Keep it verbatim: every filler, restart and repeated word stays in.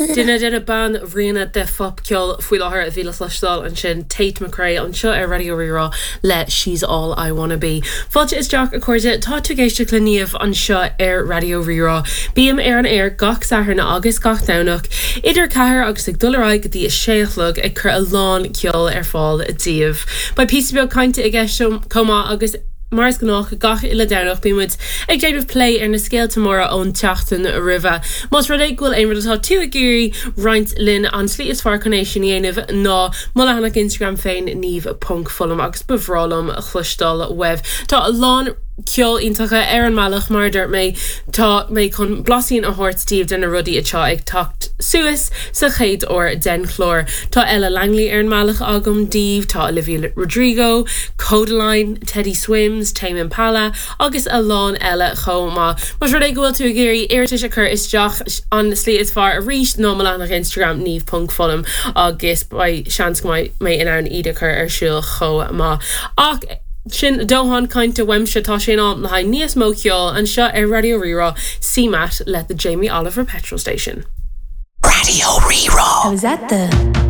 Duine de na banríona de phopcheol faoi láthair a bhí le cloisteáil ansin Tate McRae anseo ar Raidió Rí-Rá le She's All I Wanna Be. Fáilte isteach a chairde tá tú ag éisteacht le Niamh anseo ar Raidió Rí-Rá. Bím ar an aer gach Satharn agus gach Domhnach idir ceathair agus ag dul ar aghaidh go dtí a sé a chlog ag cur a lán ceol ar fáil daoibh. Beidh píosa beag cainte i gceist chomh maith agus mar is gnách gach uile Domhnach bímid ag déanamh plé ar na scéalta móra ón tseachtain roimhe. Más rud é go bhfuil aon rud atá tú ag iarraidh roinnt linn an tslí is fearr chun é sin a dhéanamh ná mo leathanach Instagram féin niamh.fullam agus ba bhreá liom cloisteáil uaibh. Tá a lán ceol iontacha ar an mbealach mar dúirt mé tá mé chun blaisín a thabhairt daoibh de na rudaí atá ag teacht suas sa chéad uair den chlár. Tá Ella Langley ar an mbealach agam daoibh, tá Olivia Rodrigo, Kodaline, Teddy Swims, Tame Impala agus a lán eile chomh maith. Más rud é go bhfuil tú ag iarraidh iarratais a chur isteach an slí is fearr arís ná mo leathanach Instagram niamh.fullam agus beidh seans go mbeidh mé in ann iad a chur ar siúl chomh maith. Ach sin dóthain cainte uaimse tá sé in am le haghaidh níos mó ceoil anseo ar Raidió Rí-Rá CMAT le the Jamie Oliver Petrol Station. Raidió Rí-Rá. I was at the